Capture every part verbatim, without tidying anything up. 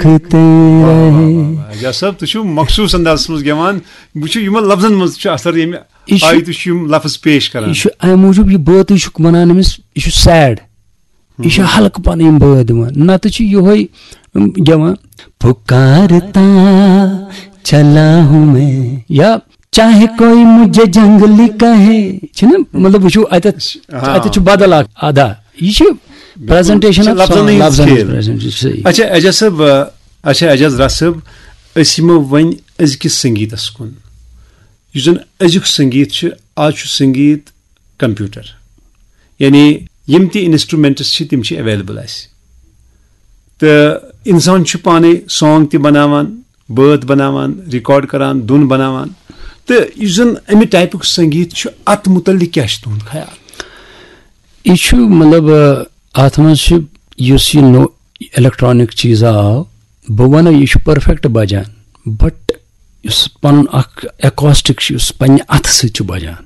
دیکھتے رہے۔ اعجاز صٲب، تُہۍ چھِو مخصوٗص اندازس منٛز گٮ۪وان۔ بہٕ چھُ یِمن لفظن منٛز چھُ اثر، ییٚمہِ یہِ چھُ آیہِ تُہۍ چھِو یِم لفظ پیش کران۔ یہِ چھُ اَمہِ موٗجوٗب، یہِ بٲتٕے چھُکھ وَنان أمِس، یہِ چھُ سیڈ۔ یہِ چھُ ہلکہٕ پَنٕنۍ یِم بٲتھ دِوان، نَتہٕ چھُ یِہوٚے، اُم، گٮ۪وان، پُکارتا چلا ہوں میں، یا چاہے کوئی مجھے جنگلی کہے، چھُنہ؟ مطلب، وٕچھِو، اَتٮ۪تھ، ہاں۔ اَتٮ۪تھ چھُ بدل اکھ ادا۔ یہِ چھُ presentation چھِ of لفظن song، ہٕنٛز لفظن ہٕنٛز کھیل۔ Presentation، صحیح۔ اچھا، اعجاز صٲب، آ، اچھا، اعجاز راز صٲب، أسۍ یِمو وۄنۍ أزکِس سنگیٖتس کُن۔ یُس زن أزیُک سنگیٖت چھُ، آز چھُ سنگیٖت کمپیوٹر، یعنی یِم تہِ instruments چھِ، تِم چھِ available اَسہِ۔ تہٕ اِنسان چھُ پانے song تہِ بناوان، بٲتھ بناوان، record کران، دُن بناوان۔ تہٕ یُس زن اَمہِ typeُک سنگیٖت چھُ، اَتھ مُتعلق کیٛاہ چھُ تُہُنٛد خیال؟ یہِ چھُ، مطلب، آ، اَتھ منٛز چھُ، یُس یہِ نوٚو electronic چیٖزا آو، بہٕ وَنہٕ، یہِ چھُ perfect بجان، but یُس پَنُن اکھ acoustic چھُ، یُس پننہِ اَتھٕ سۭتۍ چھُ بجان،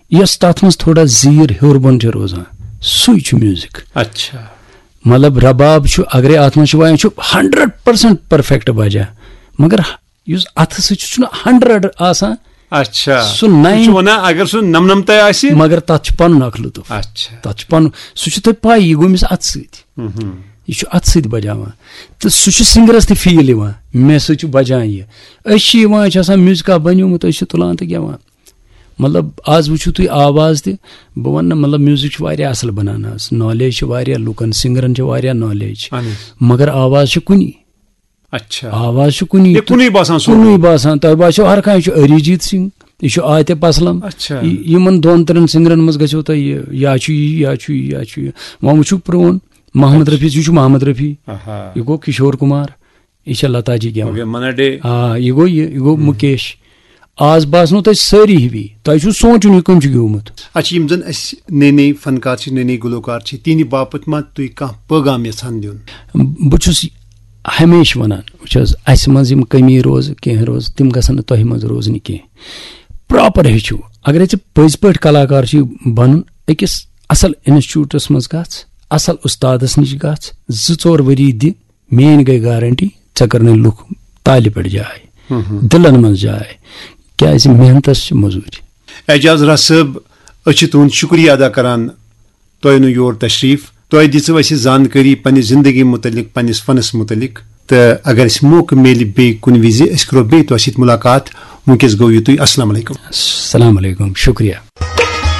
یۄس تَتھ منٛز تھوڑا زیٖر ہیوٚر بۄن چھِ روزان، سُے چھُ music۔ اچھا۔ مطلب، رباب چھُ، اگرے اَتھ منٛز چھُ وایان، چھُ hundred percent perfect بجان، مگر یُس اَتھٕ سۭتۍ چھُ، چھُنہٕ hundred آسان۔ اچھا۔ سُہ یہِ چھُ نَیہِ وَنان، اگر سُہ نَمنَمتَے آسہِ۔ مگر تَتھ چھُ پَنُن اَکھ لُطُف۔ اچھا۔ تَتھ چھُ پَنُن، سُہ چھُ تۄہہِ پَے، یہِ گوٚمِس اَتھٕ سۭتۍ۔ مہم۔ یہِ چھُ اَتھٕ سۭتۍ بَجاوان۔ تہٕ سُہ چھُ سِنٛگرَس تہِ feel یِوان، مےٚ سۭتۍ چھُ بَجان یہِ۔ أسۍ چھِ یِوان، أسۍ چھِ آسان میوٗزِکا بَنیومُت، أسۍ چھِ تُلان تہٕ گٮ۪وان۔ مطلب، آز وٕچھِو تُہۍ آواز تہِ، بہٕ وَنہٕ نہٕ، مطلب، میوٗزِک چھُ واریاہ اَصٕل بَنان آز، knowledge چھِ واریاہ لُکَن، سِنٛگرَن چھِ واریاہ knowledge، اہن حظ۔ مگر آواز چھِ کُنی۔ اچھا۔ آواز چھُ کُنی۔ یہِ کُنُے باسان سُہ۔ کُنُے باسان۔ تۄہہِ باسیو ہر کانٛہہ چھُ أریٖجیٖت سِنگھ، یہِ چھُ عاطف اسلم۔ اچھا۔ یہِ، یِمن دۄن ترٛٮ۪ن سِنٛگرن منٛز گژھیو تۄہہِ یہِ، یا چھُ یہِ، یا چھُ یہِ، یا چھُ یہِ۔ وۄنۍ وٕچھِو پرٛون محمد رفیع، یہِ چھُ محمد رفیع۔ آہا۔ یہِ گوٚو کِشور کُمار، یہِ چھےٚ لتا جی گٮ۪وان۔ اوکے، منا ڈے۔ آ، یہِ گوٚو یہِ، یہِ گوٚو مُکیش۔ آز باسنو تۄہہِ سٲری ہِوی، تۄہہِ چھُو سونٛچُن یہِ کٔمۍ چھُ گیومُت۔ اچھا، یِم زن اَسہِ نٔے نٔے فنکار چھِ، نٔے نٔے گلوکار چھِ، تِہنٛدِ باپتھ ما تُہۍ کانٛہہ پٲغام یژھان دیُن؟ بہٕ چھُس ہمیشہِ ونان، وٕچھ حظ، اسہِ منٛز یِم کٔمی روزٕ، کینٛہہ روزٕ، تِم گژھن نہٕ تۄہہِ منٛز روزنہِ کینٛہہ۔ Proper ہیٚچھِو۔ اگر ژےٚ پٔزۍ پٲٹھۍ کلاکار چھُے بنُن، أکِس اصل انسٹیٹیوٹس منٛز گژھ، اصل استادس نِش گژھ، زٕ ژور ؤری دِ، میٲنۍ گٔے گارنٹی، ژےٚ کرنٕے لُکھ تالہِ پٮ۪ٹھ جاے، دِلن منٛز جاے، کیازِ محنتس چھِ مٔزوٗرۍ۔ اعجاز راز صٲب، أسۍ چھِ تُہُنٛد شُکریہ ادا کران۔ تۄہہِ اوٚنوٕ یور تشریف، تۄہہِ دِژوٕ اَسہِ زانکٲری پننہِ زندگی متعلق، پننِس فنس متعلق۔ تہٕ اگر اَسہِ موقعہٕ میلہِ بیٚیہِ کُنہِ وِزِ، أسۍ کرو بیٚیہِ تۄہہِ سۭتۍ ملاقات۔ وٕنکیٚس گوٚو یُتُے، السلام علیکم۔ السلام علیکم، شُکریہ۔